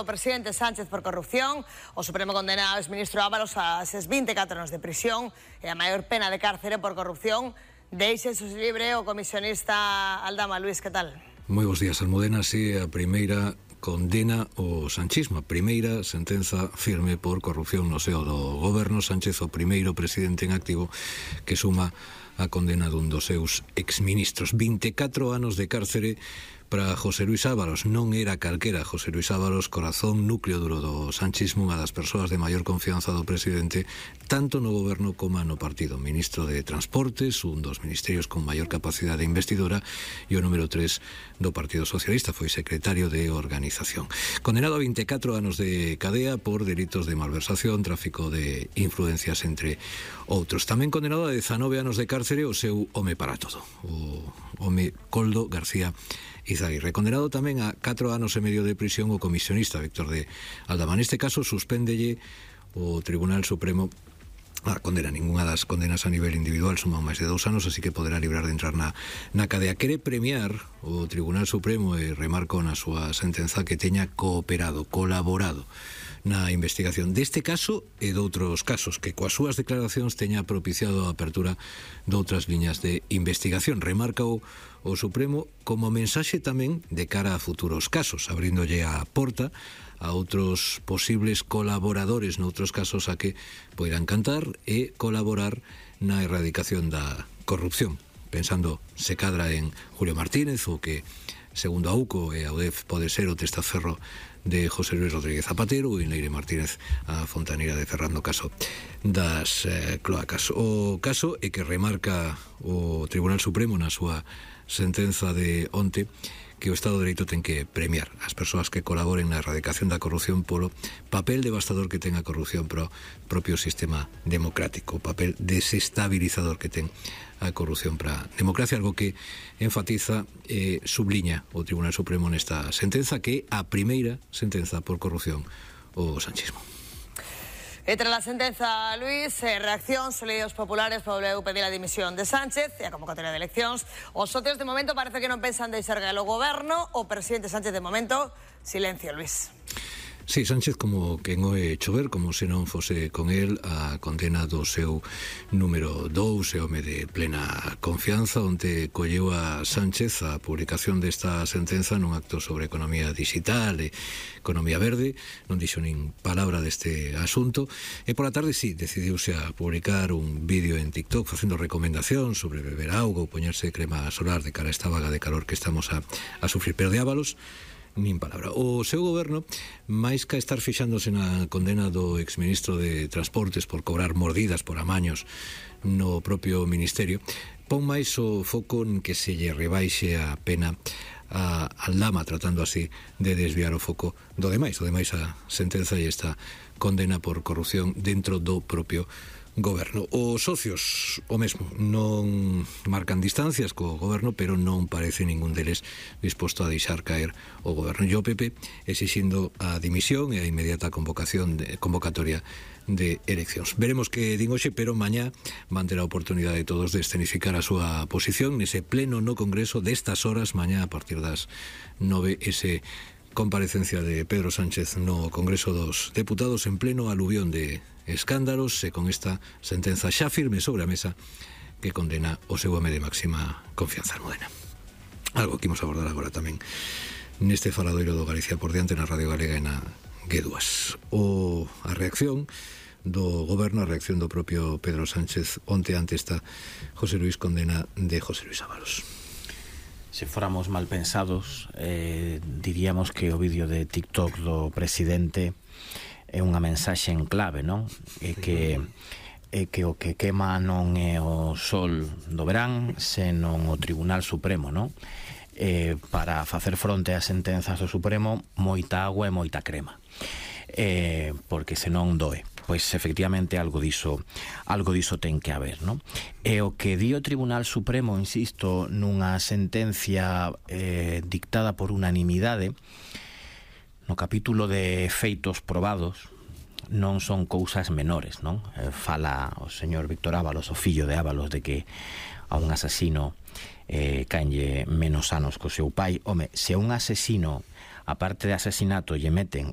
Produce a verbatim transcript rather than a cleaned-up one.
do presidente Sánchez por corrupción. O Supremo condena ao exministro Ábalos a eses vinte e catro anos de prisión e a maior pena de cárcere por corrupción. Deixe su libre o comisionista Aldama. Luis, que tal? Moi bons días, Almudena. Si a primeira condena o sanchismo, a primeira sentenza firme por corrupción no seo do goberno. Sánchez, o primeiro presidente en activo que suma a condena dun dos seus exministros. vinte e catro anos de cárcere para José Luis Ábalos. Non era calquera José Luis Ábalos, corazón, núcleo duro do sanchismo, unha das persoas de maior confianza do presidente, tanto no goberno como no partido. Ministro de Transportes, un dos ministerios con maior capacidade investidora, e o número tres do Partido Socialista, foi secretario de Organización. Condenado a vinte e catro anos de cadea por delitos de malversación, tráfico de influencias, entre outros. Tamén condenado a dezanove anos de cárcere o seu home para todo, o home Koldo García Izaguirre. Condenado tamén a catro anos e medio de prisión o comisionista Víctor de Aldama. Neste caso, suspéndelle o Tribunal Supremo a condena. Ninguna das condenas a nivel individual suma máis de dous anos, así que poderá librar de entrar na, na cadea. Quere premiar o Tribunal Supremo e remarcou na súa sentenza que teña cooperado, colaborado na investigación deste caso e doutros casos, que coas súas declaracións teña propiciado a apertura doutras liñas de investigación. Remarca o, o Supremo como mensaxe tamén de cara a futuros casos, abríndolle a porta a outros posibles colaboradores noutros casos a que poidan cantar e colaborar na erradicación da corrupción. Pensando se cadra en Julio Martínez, o que, segundo a U C O e a U D E F, pode ser o testaferro de José Luis Rodríguez Zapatero, e Leire Martínez, a fontaneira de Ferrando, caso das eh, cloacas. O caso é que remarca o Tribunal Supremo na súa sentenza de onte que o Estado de Dereito ten que premiar as persoas que colaboren na erradicación da corrupción polo papel devastador que ten a corrupción pro propio sistema democrático, o papel desestabilizador que ten a corrupción para a democracia, algo que enfatiza e eh, subliña o Tribunal Supremo nesta sentenza, que é a primeira sentenza por corrupción o sanchismo. E tras a sentenza, Luis, eh, reacción, Solidos Populares volveu pedir a dimisión de Sánchez e a convocatoria de eleccións. Os socios de momento parece que non pensan deixar galo o goberno. O presidente Sánchez de momento, silencio, Luis. Sí, Sánchez como quen oe chover, como se non fose con el a condena do seu número dous, e home de plena confianza, onde colleu a Sánchez a publicación desta sentenza nun acto sobre economía digital e economía verde. Non dixo nin palabra deste asunto, e pola tarde sí, decidiuse a publicar un vídeo en TikTok facendo recomendación sobre beber auga ou poñerse crema solar de cara a esta vaga de calor que estamos a, a sufrir. Pero de Ábalos, nin palabra. O seu goberno, máis que estar fixándose na condena do exministro de Transportes por cobrar mordidas por amaños no propio ministerio, pon máis o foco en que se lle rebaixe a pena a Aldama, tratando así de desviar o foco do demais. O demais a sentenza e esta condena por corrupción dentro do propio goberno. Os socios o mesmo, non marcan distancias co goberno, pero non parece ningún deles disposto a deixar caer o goberno. E o P P exixindo a dimisión e a inmediata convocación de, convocatoria de eleccións. Veremos que din hoxe, pero mañá van ter a oportunidade de todos de escenificar a súa posición nese pleno no Congreso destas horas. Mañá a partir das nove, ese comparecencia de Pedro Sánchez no Congreso dos Deputados en pleno aluvión de escándalos, e con esta sentenza xa firme sobre a mesa que condena o seu home de máxima confianza, Almudena. Algo que imos abordar agora tamén neste faladoiro do Galicia por diante na Radio Galega e na G dúas. O, a reacción do goberno, a reacción do propio Pedro Sánchez onte ante esta José Luis condena de José Luis Ábalos. Se fóramos mal pensados, eh, diríamos que o vídeo de TikTok do presidente é unha mensaxe en clave, non? É que, é que o que quema non é o sol do verán, senón o Tribunal Supremo, non? Eh, para facer fronte ás sentenzas do Supremo, moita agua e moita crema. Eh, porque senón doe. Pois efectivamente algo diso, algo diso ten que haber, non? E o que di o Tribunal Supremo, insisto, nunha sentencia eh, dictada por unanimidade, no capítulo de feitos probados, non son cousas menores, non? Eh, fala o señor Víctor Ábalos, o fillo de Ábalos, de que a un asesino eh, caenlle menos anos co seu pai. Home, se un asesino, aparte de asesinato, lle meten